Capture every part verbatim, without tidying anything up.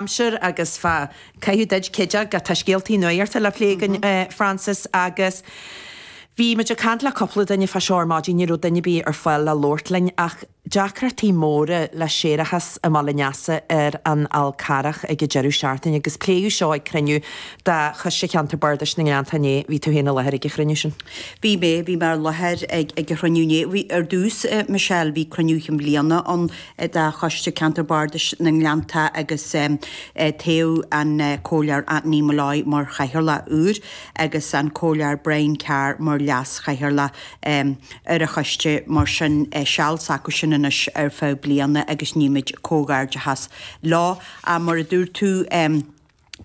Aimsir agus fá caitheamh duit cideach tá scéaltaí nuachta le plé againn Frances agus bhí muid ag caint le cúpla duine fá seo ar maidin ní raibh duine ar bith ar fáil le labhairt linn ach deacrachtaí móra le séarachas i mBaile Neasa ar an Fhál Carrach ag an deireadh seachtaine agus pléadh seo ag cruinniú de Choiste Cheantar Bardais na nGleannta inné. Bhí tú féin i láthair ag an chruinniú sin. Bhí mé, bhí mé i láthair ag ag an chruinniú inné. Bhí ar dtús Michelle bhí cruinniú chinn bliana ann de Choiste Ceantar Bardais na nGleannta agus toghadh an Comhairleoir Anthony Molloy mar chathaoirleach úr agus an Comhairleoir Brian Carr mar leas-chathaoirleach ar an choiste mar sin seal s'acu sin anois ar feadh bliana agus nímid comhghairdeachas leo. Mar a dúirt tú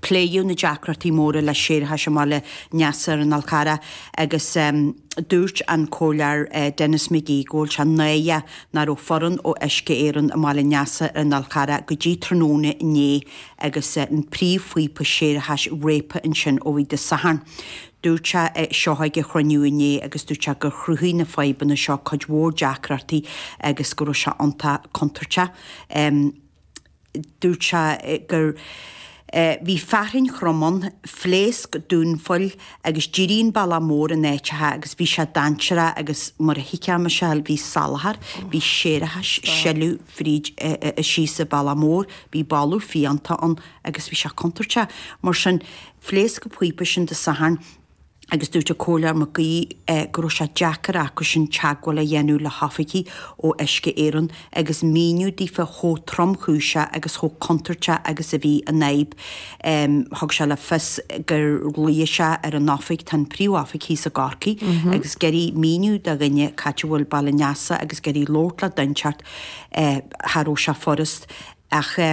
pléadh na deacrachtaí móra le séarachas i mBaile Neasa ar an Fhál Carrach agus dúirt an Comhairleoir Denis McGee go bhfuil sé náireach nach raibh foireann ó Uisce Éireann i mBaile Neasa ar an Fhál Carrach go dtí tráthnóna inné agus an príomhphíopa séarachais réabtha ansin ó bhí Dé Sathairn. Dúirt sé seo ag an chruinniú inné agus dúirt sé gur chruthaigh na fadhbanna seo cuid mhór deacrachtaí agus go raibh sé iontach contúirteach. Dúirt sé gur bhí fearthainn throm ann, phléasc dún phoill agus d'éirigh an bealach mór in áiteacha agus bhí sé dainséarach agus mar a thuigfeá Michelle bhí salachar, bhí séarachas sileadh fríd síos an bealach mór, bhí boladh fiánta ann agus bhí sé contúirteach. Mar sin phléasc an píopa sin Dé Sathairn agus dúirt an Comhairleoir McGee go raibh sé deacair acu sin teagmháil a dhéanamh le hoifigigh ó Uisce Éireann agus míniú daofa chomh tromchúiseach agus chomh contúirteach agus a bhí an fhadhb. Thug sé le fios gur ghlaoigh sé ar an oifig, tá an príomhoifig thíos i gCorcaigh, agus ag iarraidh míniú do dhuine cá háit a bhfuil Baile Neasa agus ag iarraidh labhairt le duine inteacht cha raibh sé furast. Ach i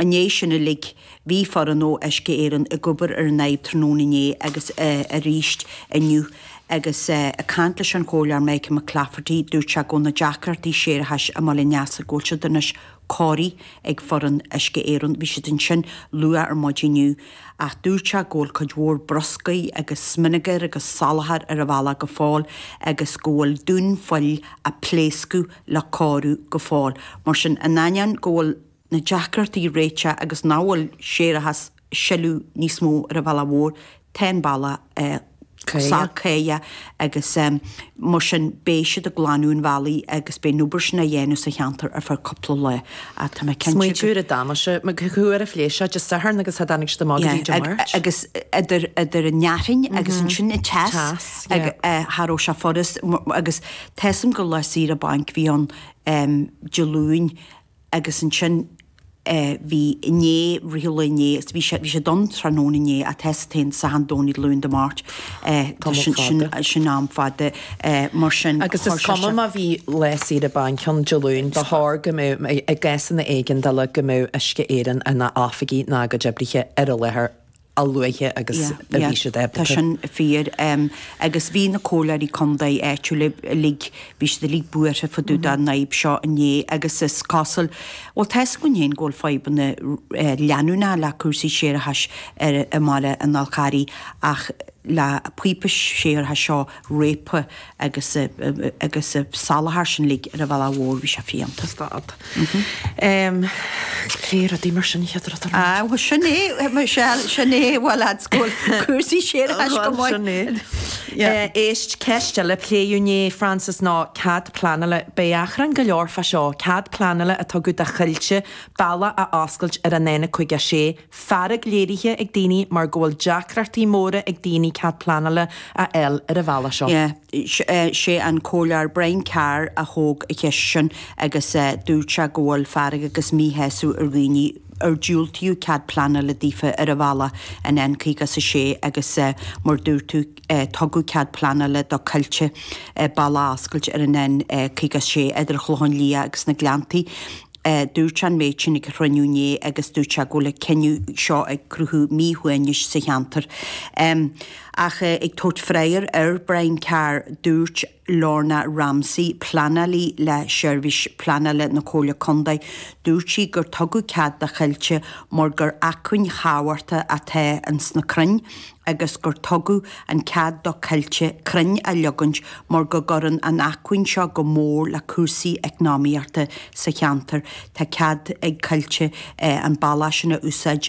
ndiaidh sin uilig, bhí foireann ó Uisce Éireann ag obair ar an fhadhb tráthnóna inné agus arís inniu. Agus ag caint leis an Chomhairleoir Michael McClafferty, dúirt sé go bhfuil na deacrachtaí séarachais i mBaile Neasa go bhfuil siad anois cóirithe ag foireann Uisce Éireann. Bhí siad ansin luath ar maidin inniu. Ach dúirt sé go bhfuil cuid mhór bruscair agus smionagar agus salachar ar an bhealach go fóill agus go bhfuil dún phoill a pléascadh le cóiriú go fóill. Mar sin, in ainneoin go bhfuil na deacrachtaí réitithe agus nach bhfuil séarachas ag sileadh níos mó ar an bhealach mhór, tá an bealach sách cráite agus mar sin beidh siad ag glanadh an bhealaigh agus beidh an obair sin á dhéanamh sa cheantar ar feadh cúpla lá. Ach tá mé cinnte Smaointiú ar an damáiste, mar cá huair a phléasc sé Dé Sathairn agus cha dtáinig siad amach go dtí Dé Máirt. Agus idir idir an fhearthainn agus ansin an teas cha raibh sé furast agus tá 'fhios a'm gur lá saoire bainc a bhí ann Dé Luain agus ansin bhí inné, rith an lae inné agus bhí sé bhí sé ann tráthnóna inné ach tá 'fhios a'd féin Satharn Domhnach Luan Dé Máirt sin sin sin am fada mar sin Agus is cuma má bhí lá saoire bainc ann Dé Luain, ba chóir go mbeadh i gcásanna éigeandála go mbeadh Uisce Éireann ina oifigí ná a gcuid oibrithe ar an láthair a luaithe agus a bhí siad ábalta. Tá sin fíor. Agus bhí na comhairleoirí contae áitiúla uilig, bhí siad uilig buartha fá dtaobh den fhadhb seo inné agus is cosúil, bhuel tá 'fhios againn féin go bhfuil fadhbanna leanúnacha le cúrsaí séarachais ar i mbaile an Fháil Charraigh ach le píopa séarachais seo réabtha agus agus salachar sin uilig ar an bhealach mhór bhí sé fiánta. Stad. Cé rudaí mar sin chéad rud ar Ah, bhuel sin é, Michelle, sin é, bhuel lads, go bhfuil cúrsaí séarachais go maith. Sin é. Éist, ceist eile a pléadh inné, Frances, ná cead pleanála. Beidh achrann go leor fá seo, cead pleanála a tugadh do Choillte bealach a oscailt ar an N caoga sé. Fearg léirithe ag daoine mar go bhfuil deacrachtaí móra ag daoine cead pleanála a fháil ar an bhealach seo. Yeah, sé an Comhairleoir Brian Carr a thóg an cheist sin agus dúirt sé go bhfuil fearg agus míshásamh ar dhaoine ar diúltaíodh cead pleanála daofa ar an bhealach an N caoga is a sé agus mar dúirt tú tugadh cead pleanála do Coillte bealach a oscailt ar an N caoga is a sé idir an Chlochán Liath agus na Gleanntaí. Dúirt sé an méid sin ag an chruinniú inné agus dúirt sé go bhfuil an cinneadh seo ag cruthú míshuaimhnis sa cheantar. Ach ag tabhairt freagra ar Brian Carr, dúirt Lorna Ramsey, pleanálaí le Seirbhís Pleanála na Comhairle Contae, dúirt sí gur tugadh cead do Choillte mar gur acmhainn thábhachtach atá ins na crainn agus gur tugadh an cead do Coillte crainn a leagaint mar go gcuireann an acmhainn seo go mór le cúrsaí eacnamaíochta sa cheantar. Tá cead ag Coillte an bealach sin a úsáid.